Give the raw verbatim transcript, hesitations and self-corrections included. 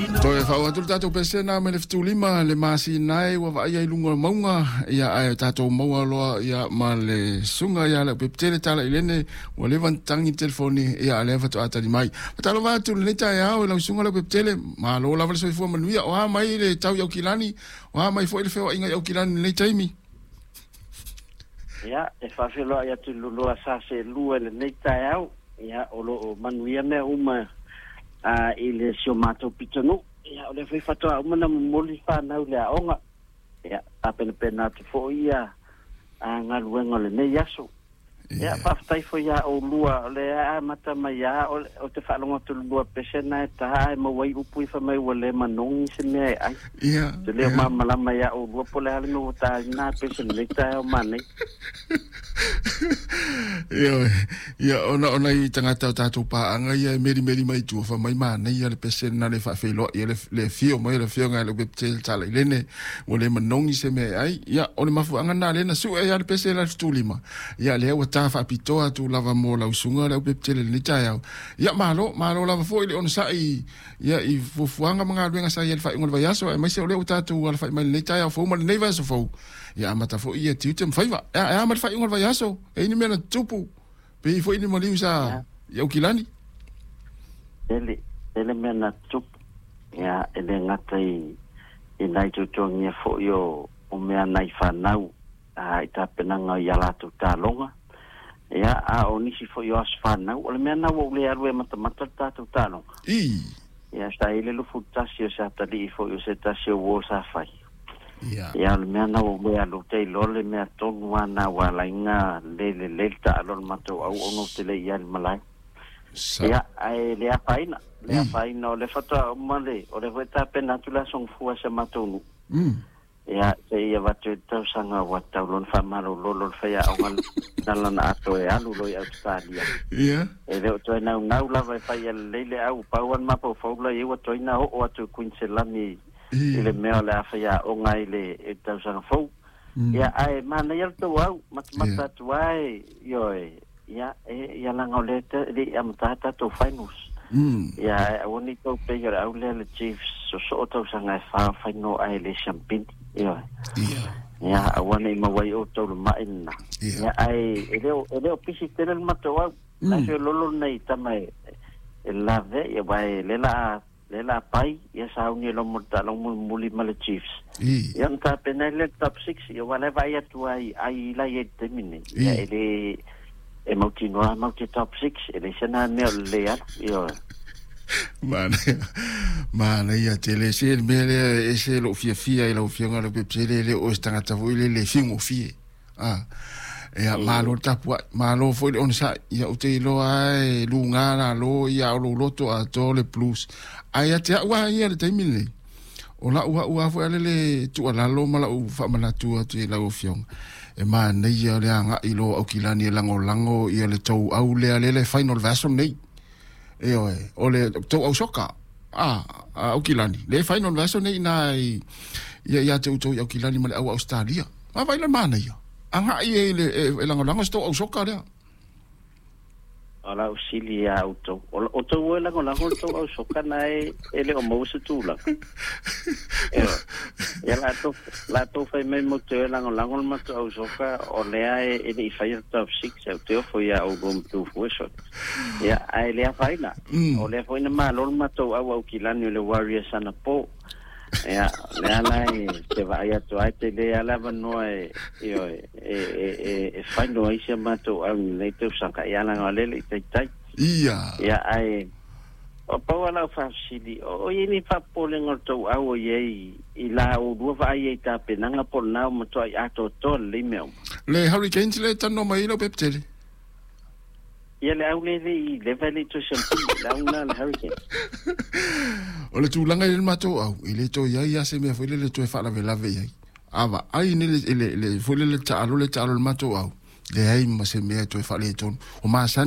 Toe fa'au atu le tatou pesena mai le fetulima le masina e ua va'aia i luga o mauga ia ae tatou maua loa ia ma le suga ia Leaupepe Tele Talailene ua leva na tagi telefoni ia lea fato'a tali mai. Faatalofa atu lenei taeao i lau suga Leaupepe Tele, malo lava le soifua manuia o a mai le tau i Aukilani o a mai fo'i le feoa'iga i Aukilani lenei taimi. Ia, e faafeiloai atu i lulua sa selua i lenei taeao. Ia, o loo manuia mea uma a i le si o matou pitonuu. Ia, o lea foi faatoa uma na momoli fanau i le aoga. Ia, tapenapena atu foi ia a galuega o lenei aso. Ia, faafetai foi iā oulua o lea amata mai a o, o te faalogo atu lulua pese na e tā e maua ai upu i fai mai ua le manogi se mea e ai. Ia. Te leo malamalama iā oulua po le a le mea ua tāina pese lenei taeao manei. Ia, ia ona ona i tagata o tatou paaga ia e melimeli mai tua fa mai manaia le pese na le faafeiloai le le afio mai le afioga i Leaupepe Tele Talailene ua le manogi se mea e ai. Ia o le mafuaaga na lea na su'e ai le pese la le fetulima. Ia lea ua ta faapitoa atu lava mo lau suga Leaupepe Tele lenei taeao. Ia malo, malo lava fo'i le onosa'i ia i fuafuaga ma galuega sa i ai le faaiuga o le vaiaso aemaise o lea ua tatou alafa'i mai lenei taeao fou ma lenei vaiaso fou. Ia amata fo'i ia tiute ma faiva. E a ma le faaiuga o le vaiaso, e i ni mea na tutupu pe i fo'i ni maliu sa i Aukilani? Tele, tele mea na tutupu. Ia, e le gata i i nai tuatuagia foi o o mea nai fanau a i tapenaga i a latou taloga. Ia, a o nisi foi o aso fanau, o le mea na ua ou le alu e matamata le tatou taloga. I. Ia, sa i le lufu tasi o se atalii foi o se tasi o uo sa fai. Ia. Ia, o le mea na ua ou le alu ou te iloa le mea tonu lava na ua ala ai na le lelei le taalo a le matou au ona ou te le i alu i malae. Sa. Ia, ae le afaina, le I. afaina o le faatoa uma le, o le foi tapena atu le aso gafua o si a matou nuu. Mm. Ia, seia avatu ai le tausaga ua tatau loa ona faamalololo le faiaoga na lana atoa e alu loa i Ausetalia. Ia. E le o toe naunau lava e fai lelei le au, pau lava le mafaufau la i ai ua toe na oo atu i Kuiniselani i le mea o le a faiaoga ai le i le tausaga fou. Mm. Ia, ae manaia le tou au, matamata Ia. atu lava e, ioe, ia, e, ia leaga o lea e le i amata tatou finals. Mm. Ia, ae aua ne i tou pei o le au lea le Chiefs sosoo tausaga e fa final ae le siampini. Ioe. Ia. Ia, aua ne i maua ai outou le ma'i lena. Ia. Ia, ae e le o, e le o pisi tele le matou au. Mm. Na feololo nei tama e, e lave, ia wae le la le la pai, ia sauni e lomo le taaloga mulimuli ma le Chiefs. I. Ia ona tapena ai lea le top six, ia ua lea vaai atu ai ai la i ai i le taimi nei. Ia I. e le e mautinoa matou te top six, e leai se na mea o le le alu. Ioe. Manaia, manaia tele se le mea lea e ese lou fiafia i lau afioga Leaupepe Tele e le o oe se tagata foi lele e fiugofie. A ia malo le tapua'i, malo foi le onosa'i. Ia ou te iloa lava e lugā lalo ia o lou loto atoa le Blues. Ae ia te a'u lava ia i le taimi lenei, o la'u a'u lava foi a lele tuualalo ma la'u faamanatu atu i lau afioga, e manaia le aga'i loa o Aukilani e lagolago ia le tou au lea lele e final le vaiaso lenei. Ioe, o le tou au soka a a Aukilani le final le vaiaso nei iná i ia ia te outou i Aukilani ma le au Ausetalia. Vaavaai la le manaia, aga'i e le e lagolago se tou au soka lea. O lau sili iā outou, o outou e lagolago le tou au soka na e e le o maua se tulaga. Ioe. Ia latou latou fai mai mo te lagolago le matou au soka o lea e e le i faia le top six au te ofo iā oulua ma tou fue sole. Ia, ae le afaina. Mm. O lea foi na malo le matou au Aukilani o le Warriors anapo. Ia, lea la e te vaai atu ai te le ala avanoa e ioe e e e e final ai si a matou au i lenei tausaga ia leaga o lea e le i taitai. Ia. Ia, ae o pau lava lau faafesili, o o i ai ni faapopolega o le tou au o i ai i la oulua vaai ai i tapenaga po o lena ua matuai atoatoa lelei mea uma? Le Hurricanes lea e talanoa mai ai Leaupepe Tele. Ia le au lea e le i leva e le i toe siampini, le au lena a le Hurricanes. O le tulaga i le matou au, e le toe i ai lava se mea foi lele e toe faalavelave i ai. A vaai nei le, le, le, foi lele taalo le taalo a le matou au, leai ma se mea e toe faaletonu. O masani